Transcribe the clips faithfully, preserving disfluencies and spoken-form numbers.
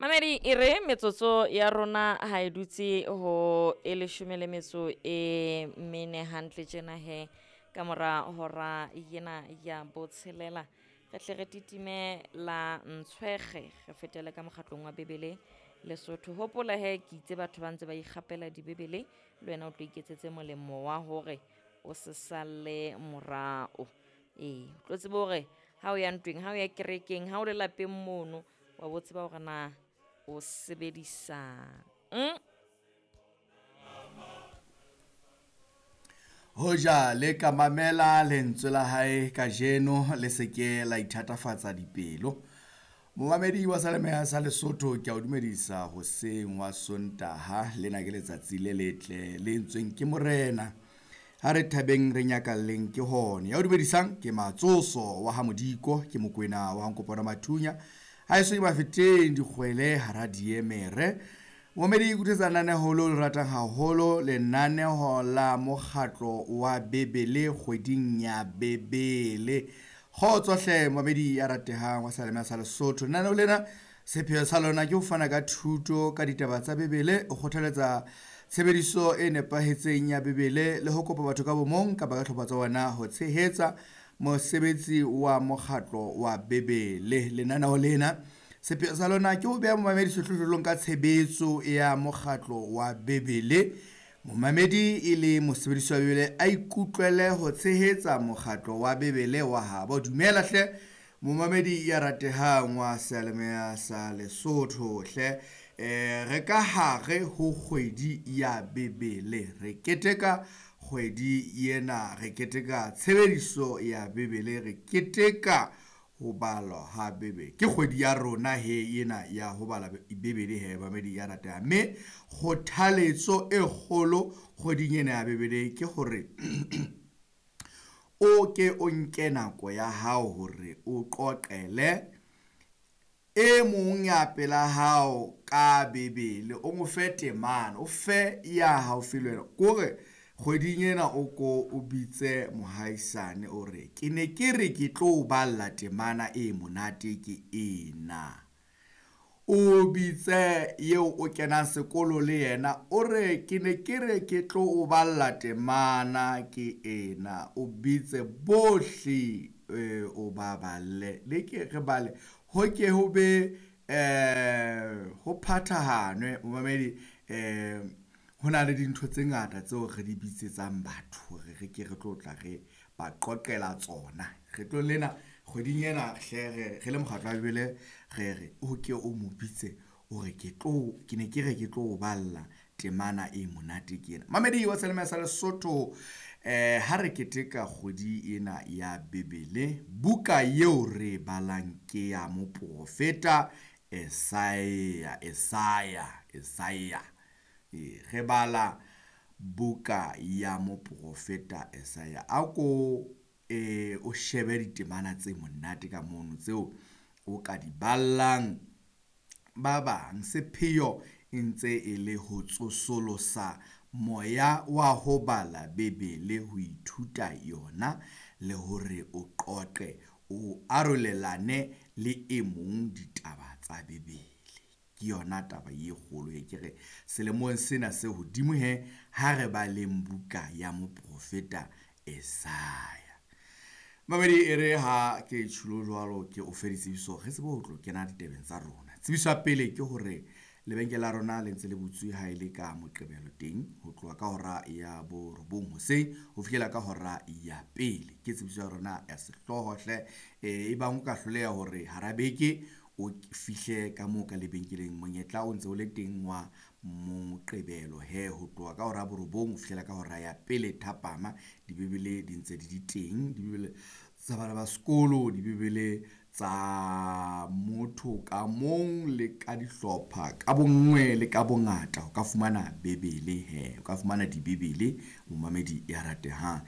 Mamedi e re metsotso ya rona ha e dutse ho e leshome le metso e mene hantle tjena he ka mora hora yena ya botshelela. Re hle re titime la ntshwekge re fetele ka mokgatlong wa Bebele Lesotho. Hopola he ke itse batho ba ntse ba ikgapela dibebele le wena o tlo iketsetse molemo wa hore o se salle morao. Ee, o tlo tsebe hore ha o ya ntweng, ha o ya kerekeng, ha o le lapeng mono, wa bo tseba hore na o sebedisang. Hoja le ka mamela lentswe la hae kajeno le se ke la ithatafatsa dipelo. Momamedi wa Seyalemoya sa Lesotho, ke a o dumedisa hoseng wa Sontaha. Lena ke letsatsi le letle le entsweng ke Morena. Ha re thabeng re nyakalleng ke hona. Ya o dumedisang ke Matsoso wa ha Modiko, ke Mokwena wa Nkopano Mathunya. Ha eso ke bafeteng dikgwele hara diemere. Momamedi ikuthetsa lenaneho leo le ratang haholo, lenaneho la mokgatlo wa Bebele kgweding ya Bebele. Kgotso hle momamedi ya ratehang wa Seyalemoya sa Lesotho. Lenaneo lena sepheo sa lona ke ho fana ka thuto ka ditaba tsa Bebele, ho kgothaletsa tshebediso e nepahetseng ya Bebele le ho kopa batho ka bomong kapa ka hlopha tsa bona ho tshehetsa mosebetsi wa mokgatlo wa Bebele. Lenaneo lena sepheo sa lona ke ho beha momamedi sehlohlolong ka tshebetso ya mokgatlo wa Bebele. Momamedi e le mosebedisi wa Bebele a ikutlwele ho tshehetsa mokgatlo wa Bebele wa habo. Dumela hle momamedi ya ratehang wa Seyalemoya sa Lesotho hle. Eh, re ka hare ho kgwedi ya Bebele, re keteka kgwedi ena, re keteka tshebediso ya Bebele, re keteka ho balwa ha Bebele. Ke kgwedi ya rona he ena ya ho bala Bebele he mamedi ya ratehang. Mme kgothaletso e kgolo kgweding ena ya Bebele ke hore o ke o nke nako ya hao hore o qoqele e mong ya pela hao ka Bebele, o mo fe temana, o fe ya haufi le wena. Kore kgweding ena o ko o bitse mohaisane o re ke ne ke re ke tlo balla temana e monate ke ena. O bitse eo o kenang sekolo le yena o re ke ne ke re ke tlo o balla temana ke ena. O bitse bohle eh, o ba balle, le ke re bale ho ke ho be eh ho phathahanwe momamedi. Eh ho na le dintho tse ngata tseo re di bitsetsang batho hore re ke re tlo tla re ba qoqela tsona. Re tlo lena kgweding ena hle re re le mokgatlo wa Bebele re re o ke o mo bitse o re ke tlo ke ne ke re ke tlo o balla temana e monate ke ena. Mamedi wa Seyalemoya sa Lesotho, eh ha re keteka kgwedi ena ya Bebele, buka eo re balang ke ya moprofeta Esaya, Esaya, Esaya. E, re bala buka ya moprofeta Esaya. A ko e o shebe ditemana tse monate ka mono tseo o ka di ballang ba bang. Sepheo e ntse e le ho tsosolosa moya wa ho bala Bebele, ho ithuta yona le hore o qoqe, o arolelane le e mong ditaba tsa Bebele. Ke yona taba e kgolo e ke re selemong sena se hodimo he ha re baleng buka ya moprofeta Esaya. Mamedi e re ha ke tjhulo jwalo ke o fe ditsebiso re tsebe ho tlo kena ditabeng tsa rona. Tsebiso ya pele ke hore lebenkele la rona le ntse le butswe ha e le ka Moqebelo teng ho tloha ka hora ya borobong hoseng ho fihlela ka hora ya pele. Ke tsebiso ya rona ya sehlooho hle. Eh, e bang o ka hloleha hore hara beke o fihle ka moo ka lebenkeleng, monyetla o ntse o le teng wa Moqebelo he ho tloha ka hora ya borobong ho fihlela ka hora ya pele thapama. Dibebele di ntse di di teng, dibebele tsa bana ba sekolo, dibebele tsa motho ka mong le ka dihlopha ka bonngwe le ka bongata. O ka fumana Bebele he, o ka fumana dibebele momamedi ya ratehang.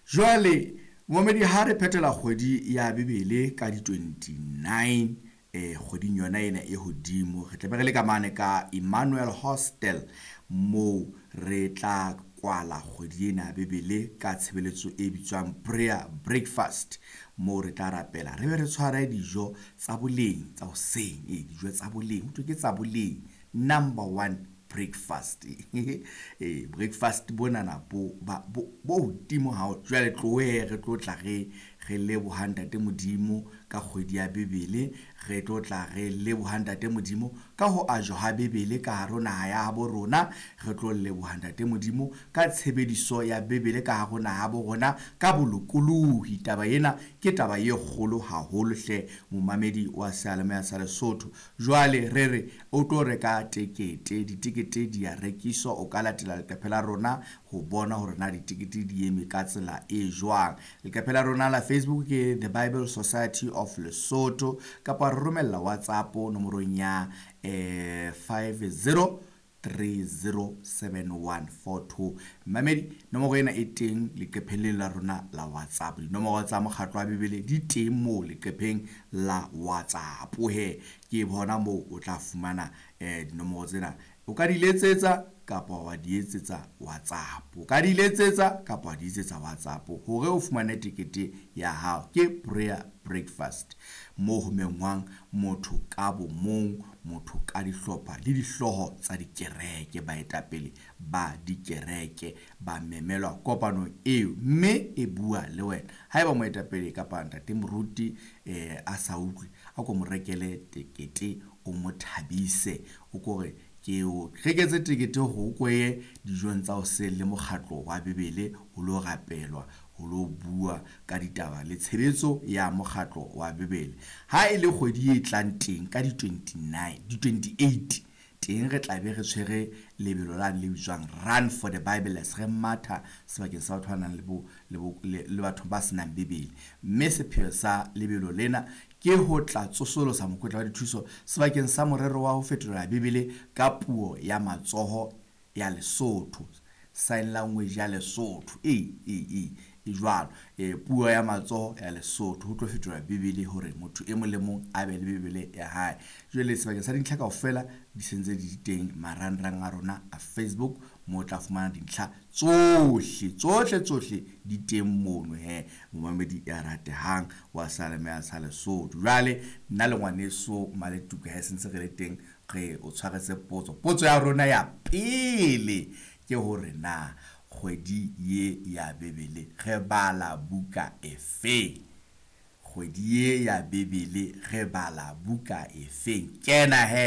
Jwale momamedi ha re phethela kgwedi ya Bebele ka di twenty-nine eh kgweding yona ena e hodimo, re tla be re le ka mane ka Emmanuel Hostel moo re tla kwala kgwedi ena ya Bebele ka tshebeletso e bitswang prayer breakfast. moo re tla rapela re be re tshware dijo tsa boleng tsa hoseng. Ee, dijo tsa boleng, ho thwe ke tsa boleng, number one breakfast. Ee, breakfast bonana bo ba bo hodimo hao. Jwale tlohe re tlo tla re re leboha Ntate Modimo ka kgwedi ya Bebele, re tlo tla re leboha Ntate Modimo ka ho ajwa ha Bebele ka hare ho naha ya habo rona, re tlo leboha Ntate Modimo ka tshebediso ya Bebele ka hare ho naha ya bo rona ka bolokolohi. Taba ena ke taba e kgolo haholo hle momamedi wa seyalemoya sa Lesotho. Jwale re re o tlo reka tekete, ditekete di a rekiswa, o ka latela leqephe la rona ho bona hore na ditekete di eme ka tsela e jwang. Leqephe la rona la Facebook ke The Bible Society of Lesotho, kapa re romella WhatsApp nomorong ya eh five zero three zero seven one four two. Mamedi, nomoro ena e teng leqepheng lena la rona la WhatsApp. Dinomoro tsa mokgatlo wa Bebele di teng moo leqepheng la WhatsApp. He, ke bona moo o tla fumana eh dinomoro tsena. O ka di letsetsa kapa wa di etsetsa WhatsApp. O ka di letsetsa kapa wa di etsetsa WhatsApp hore o fumane tekete ya hao. Ke prayer breakfast moo ho mengwang motho ka bo mong, motho ka dihlopha le dihlooho tsa dikereke, baetapele ba dikereke ba memelwa kopanong eo, mme e bua le wena. Haeba moetapele kapa ntate moruti eh a sa utlwe, a ko mo rekele tekete, o mo thabise, o kore ke o reketse tekete hore o koye dijong tsa hoseng le mokgatlo wa Bebele ho lo rapelwa, ho lo bua ka ditaba le tshebetso ya mokgatlo wa Bebele. Ha e le kgwedi e tlang teng ka di twenty-nine, di twenty-eight teng re tla be re tshwere lebelo la le bitswang Run for the Bible, re matha sebakeng sa batho ba nang le bo, le bo, le, le batho ba senang Bebele. Mme sepheo sa lebelo lena ke ho tla tsosolosa mokotla wa dithuso sebakeng sa morero wa ho fetolela Bebele ka puo ya matsoho ya Lesotho, sign language ya Lesotho. E, e, e, e jwalo. E, puo ya matsoho ya Lesotho, ho tlo fetola Bebele hore motho e mong le mong a be le Bebele ya hae. Jwale sebakeng sa dintlha kaofela di sentse di teng marangrang a rona a Facebook, moo o tla fumana dintlha tsohle, tsohle, tsohle di teng mono he, momamedi ya ratehang wa seyalemoya sa Lesotho. Jwale nna le ngwaneso Maletuka he sentse re le teng, re o tshwaretse potso. Potso ya rona ya pele ke hore na kgwedi ye ya Bebele re bala buka efe? Kgwedi ye ya Bebele re bala buka efeng? Kena he